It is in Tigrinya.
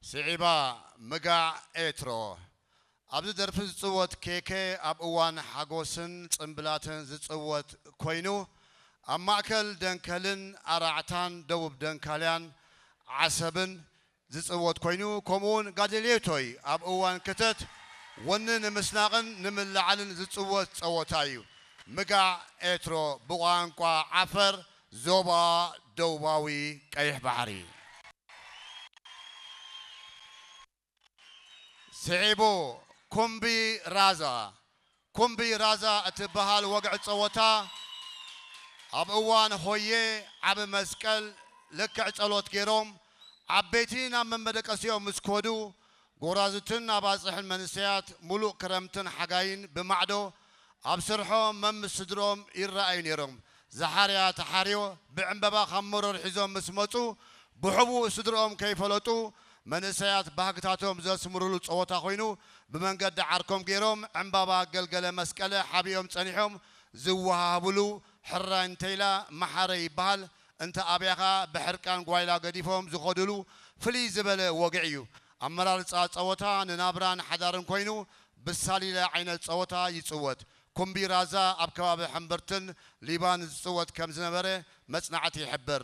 ስዒባ፣ ምጋዕ ኤትሮ። ኣብዚ ደርፊ ዝጽወት ኬኬ ኣብ እዋን ሓጎስን ጽምብላትን ዝጽወት ኮይኑ፣ ኣብ ማእከል ደንከልን ኣራዕታን ደቡብ ደንካልያን ዓሰብን ዝጽወት ኮይኑ፣ ከምኡውን ጋደልዮቶይ ኣብ እዋን ክተት ወኒ ንምስናቕን ንምልዓልን ዝጽወት ጸወታ እዩ። ምጋዕ ኤትሮ ብቋንቋ ዓፈር ዞባ ደቡባዊ ቀይሕ ባሕሪ። ስዒቡ ኩምቢ ራዛ። ኩምቢ ራዛ እትበሃል ወግዒ ጸወታ ኣብ እዋን ሆየ ዓቢ መስቀል ልክዕ ጸሎት ገይሮም ዓበይቲ ናብ መመደቀሲኦም ምስ ከዱ ጎራዙትን ኣባጽሕን መንእሰያት ሙሉእ ክረምትን ሓጋይን ብማዕዶ ኣብ ስርሖም መምስ ስድርኦም ይረኣዩ ነይሮም። ዝሓርያ ተሓርዮ ብዕምበባ ካብ መሮር ሒዞም ምስ መጹ ብሕቡእ ስድርኦም ከይፈለጡ መንእሰያት ባህግታቶም ዘስምሩሉ ጸወታ ኮይኑ ብመንገዲ ዓርኮም ገይሮም ዕምባባ ገልገለ መስቀለ ሓቢኦም ጸኒሖም ዝወሃሃብሉ ሕራይ እንተይላ መሓረ ይበሃል። እንተ ኣብያኻ ብሕርቃን ጓይላ ገዲፎም ዝኸዱሉ ፍልይ ዝበለ ወግዒ እዩ። ኣመራርጻ ጸወታ ንናብራን ሓዳርን ኮይኑ ብሳሊለ ዓይነት ጸወታ ይጽወት። ኩምቢ ራዛ ኣብ ከባቢ ሕምብርትን ሊባን ዝጽወት ከም ዝነበረ መጽናዕቲ ይሕብር።